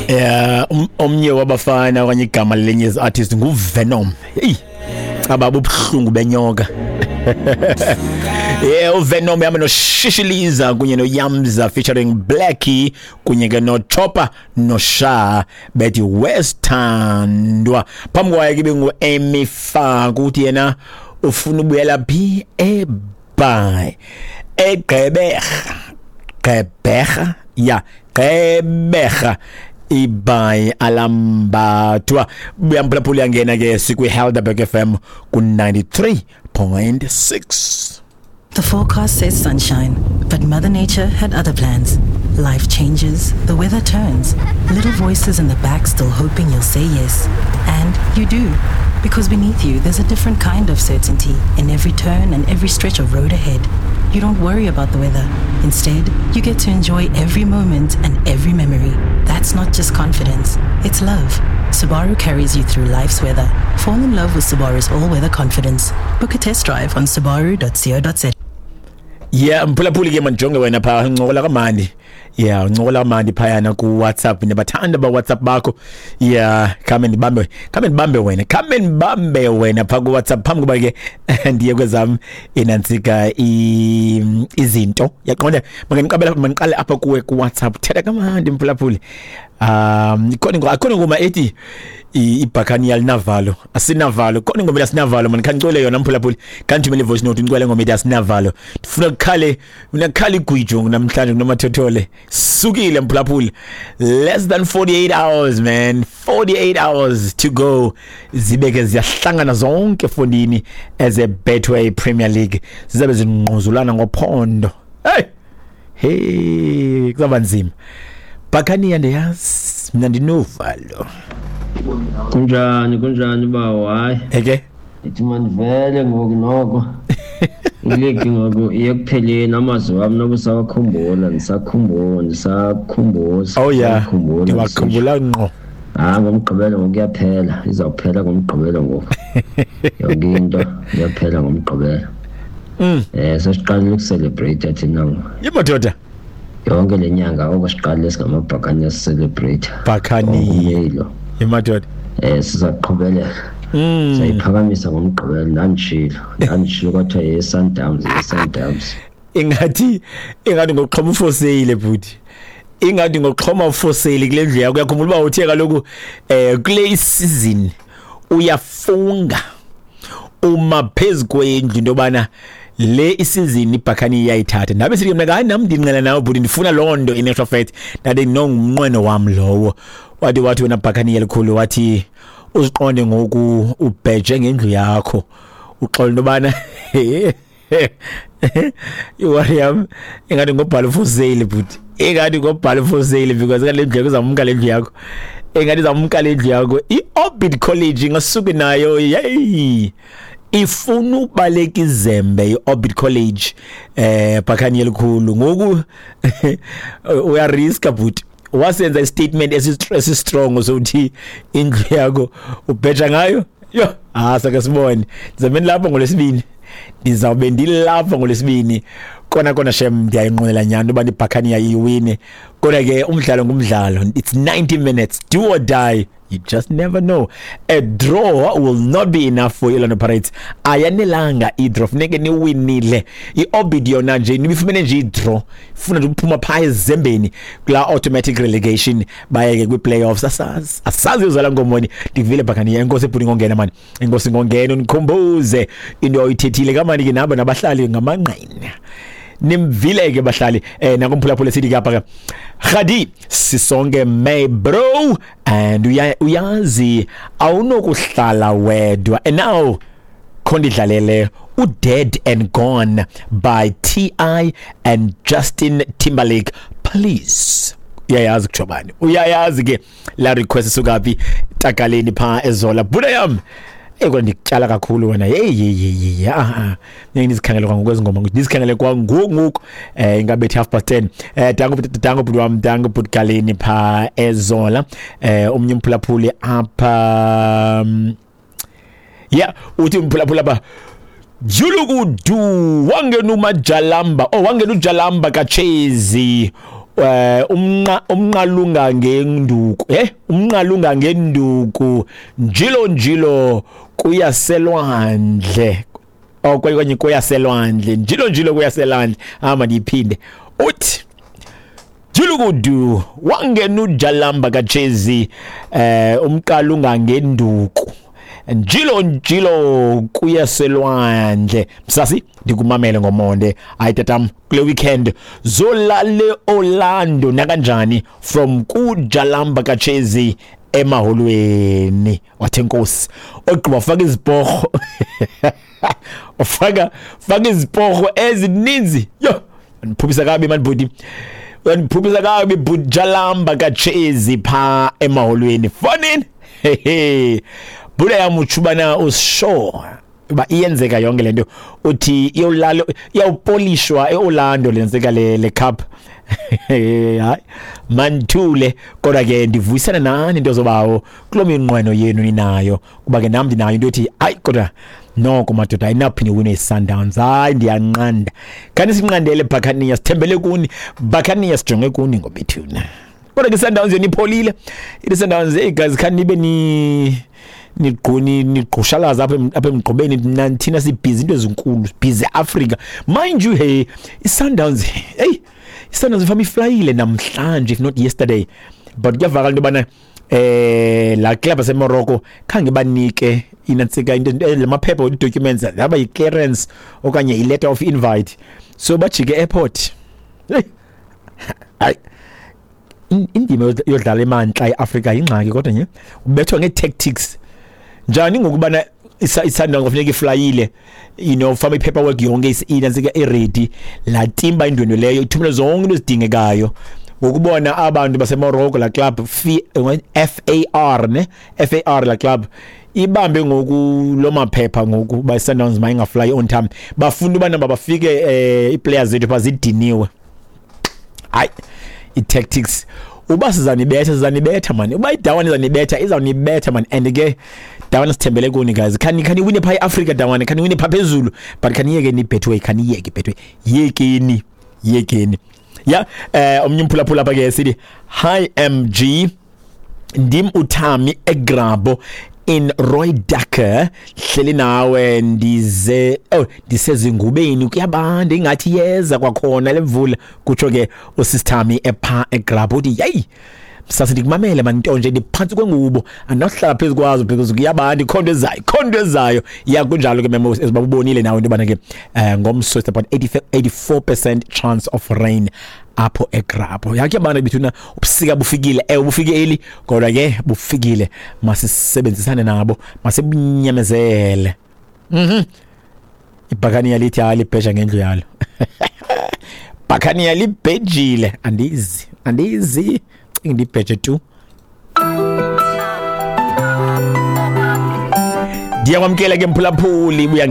Yeah, omnye wabafana okanye igama lelinye artist nguVenom. Hey, aba bubuhlungu benyoka. Yeah, uVenom yami noShishiliza kunye noYamza featuring Blackie kunye ke noChopper noSha bethi Westhandwa. Phambi kwaye ke bengu-Amy Funk, uthi yena ufuna ubuyela phi? eBhayi, eGqeberha. Gqeberha, ya, Gqeberha, ibhayi alambathwa. Buyamphulaphula, yangena ke sikwi-Helderberg FM ku-93.6. The forecast says sunshine, but Mother Nature had other plans. Life changes, the weather turns, little voices in the back still hoping you'll say yes. And you do. Because beneath you, there's a different kind of certainty in every turn and every stretch of road ahead. You don't worry about the weather. Instead, you get to enjoy every moment and every memory. That's not just confidence, it's love. Subaru carries you through life's weather. Fall in love with Subaru's all-weather confidence. Book a test drive on subaru.co.za. Yeah, mphulaphuli ke, mandijonge wena phaa, uncokola kamandi. Yeah, uncokola kamandi phayana ku-WhatsApp. Ndiyabathanda ba-WhatsApp bakho. Yeah, khame ndibambe, khame ndibambe wena, khame ndibambe wena phaa ku-WhatsApp phambi kuba ke ndiye kwezam inantsika izinto. Yaqonda, mandiqabela, mandiqale apha kuwe ku-WhatsApp. Thetha kamandi, mphulaphuli. Ikhona, akhona ingoma ethi ibhakani yalinavalo, asinavalo. Khona ingoma ethi asinavalo, man, khanicule yona, mphulaphuli. Khandithumele ivoice note, ndicule ngoma ethi asinavalo. Ndifuna kukhale, ndifuna kukhale igwijo namhlanje kunomathothole. Sukile, mphulaphuli, less than 48 hours, man, 48 hours to go, zibe ke ziyahlangana zonke fondini as a Betway Premier League, zizabe zingquzulana ngophondo. Hey hey, kuzaba nzima. Bhakaniya, ndiyazi mna ndinovalo. Kunjani, kunjani bawo? Hayi. Eke. Ndithi mandivele ngoku noko. Iligi ngoku iye kupheleni, amazwi wami noba usawakhumbula, ndisakhumbula, ndisakhumbuza. Oh yeah. Ndisakhumbula. Ndiwakhumbula ngqo. Hayi, ngoMgqibelo ngoku iyaphela, izawuphela ngoMgqibelo ngoku. Yonke into iyaphela ngoMgqibelo. Sesiqalile ukucelebrate thina ngoku. Yemadoda. Yonke le nyanga oko siqalile singamabhakani celebrate. Bhakani. Yemadoda. Sizaqhubeleka. Sayiphakamisa ngoMgqibelo, ndandishilo. Ndandishilo kwathiwa ye-Sundowns, ye-Sundowns. Ingathi ngokuxhoma ufoseyile, bhuti. Ingathi ngokuxhoma ufoseyile kule ndlu yakho. Uyakhumbula uba uthe kaloku kule season uyafunga uma phezu kwendlu into yobana le isizini ibhakhani iyayithatha. Ndabe sithi mna, hayi, nam ndinqela nawe bhuti, ndifuna loo nto. In actual fact, ndathi nongumnqweno wam lowo. Wathi wena bhakhani elikhulu, wathi uziqonde ngoku ubheje ngendlu yakho, uxola into yobana iwari yam ingathi ngobhala for sale, bhuti, ingathi ngobhala for sale, because ingathi le ndlu yakho izamka, le ndlu yakho ingathi izamka le ndlu yakho. I-Orbit College ingasuke nayo, yeyi, ifuna ubaleka izembe i-Orbit College. Bhakhani elikhulu, ngoku uyariska, bhuti. Wasenza istatement esi-strong sokuthi indlu yakho ubheja ngayo. Yo, ah, sake sibone. Ndizabe ndilapha ngoLwesibini, ndizawube ndilapha ngoLwesibini kona kona. Shem, ndiyayinqwenela nyani uba ibhakhani iwine, kodwa ke umdlalo ngumdlalo. It's 90 minutes, do or die. You just never know. A draw will not be enough for Orlando Pirates. Ayanelanga i-draw, funeke niwinile. I-Orbit yona nje nibifumene nje i-draw, ifuna nje ukuphuma phaa ezembeni kulaa automatic relegation, bayeke kwi-playoffs. Asazi, asazi uzala ngomoni. Ndikuvile, bhakani. Enkosi bhuti ngongena mani, enkosi ngongena undikhumbuze into oyithethile kamani ke. Nabo nabahlali ngamangqina, nimvile ke bahlali. Nakumphulaphula sithi kapha ke Khadi sisonke, may bro, and uyazi awunokuhlala wedwa. And now khondidlalele uDead and Gone by TI and Justin Timberlake, please. Uyayazi kutsho bani, uyayazi ke la request sukaphi, takaleni phaa ezola buda yam. Eko ndikutyala kakhulu wena. Hey hey hey hey, ah, ngeke ndizikhangele kwangoku ezi ngoma, ndizikhangele kwangoku ngoku. Ingabethi 10:30. Danko, danko bhuti wam, danko bhuti Galeni phaa ezola. Omnye umphulaphuli apha, yeah, uthi umphulaphuli apha, Julukudu wangena umajalamba, oh, wangena ujalamba kachezi. Umnqalunga ngenduku, umnqalunga ngenduku, njilo njilo kuyaselwandle, okanye kuyaselwandle, njilo njilo kuyaselwandle. Hamba ndiyiphinde. Uthi Julukudu wangena uJalamba kaChezi, umqalunga ngenduku, njilo njilo kuyaselwandle. Msasi, ndikumamele ngomonde. Hayi tatam, kule weekend zolale Orlando nakanjani, from kuJalamba kaChezi emaholweni. Wathi enkosi. Ogqiba faka iziporho, ufaka faka iziporho ezininzi. Yo, ndiphuphisa kabi mani bhuti, uyandiphuphisa kabi bhuti Jalamba kaChezi pha emaholweni. Fonini hehe, bhuda yam, utshubana usure uba iyenzeka yonke le nto. Uthi iyolala, iyawupolishwa eOrlando lenzeka le cup. Hayi manthule, kodwa ke ndivuyisana nani into zobawo kuloo minqweno yenu ninayo, kuba ke nam ndinayo into ethi hayi kodwa noko madoda ayinaphinde wine i-Sundowns. Hayi ndiyanqanda, khani sinqandele Bhakaniya, sithembele kuni Bhakaniya, sijonge kuni ngobethuna. Kodwa ke i-Sundowns yona ipholile, ithi Sundowns, hey guys, khani nibe ni nigquni nigqushalaza apha emgqobeni, thina sibhizi into ezinkulu, busy Africa, mind you. Hey, i-Sundowns, hey, i-Sundowns ifama iflyile namhlanje, if not yesterday, but kuyavakala into yobana la club yaseMorocco khange banike inantsika into lamaphepha, documents, yaba yi-clearance okanye i-letter of invite, so bajike airport. Hey, hayi indima yodlala emantla eAfrika yingxaki, kodwa nje ubethwa ngee-tactics njani ngokubana iSundowns kufuneka iflyile, fama i-paperwork yonke inantsika iready, la timba indwendwe leyo ithumele zonke into ezidingekayo, ngokubona abantu baseMorocco, la club FAR ne FAR, la club ibambe ngoku lo maphepha ngoku ba Sundowns mayingafly on time, bafuna ubana bafike ii-players zethu pha zidiniwe. Hayi, i-tactics, uba sizanibetha, sizanibetha man, uba idawane izanibetha, izawunibetha man. And ke dawana sithembele kuni guys, khani wine pha eAfrica dawana, khani wine pha phezulu, but khaniyeke ni Betway, khaniyeke Betway, yekeni yekeni. Ya, omnye umphulaphula apha ke sithi hi MG, ndim uThami eGrabo in Roy Ducker, hleli nawe, ndize oh ndisezingubeni, kuyabanda ingathi yeza kwakhona lemvula, kutsho ke usisithami epha eGrabo. Uthi yeyi sase ndikumamele man, nto nje ndiphantsi kwengubo, andinohlala phezu kwazo because kuyabanda, ikhona into ezayo, ikhona into ezayo. Ya, kunjalo ke memo, eziba ubonile nawe into yobana ke ngomso it's about 84% chance of rain apho eGrabo. Yakhe bana bethuna, ubusika bufikile, bufike eli, kodwa ke bufikile, masisebenzisane nabo, masibunyamezele. Ibhakaniya lithi hayi libhesha ngendlu yalo, bhakaniya libhejile, andizi andizi ndibheje tu. Ndiyakwamkela ke mphulaphuli, buya.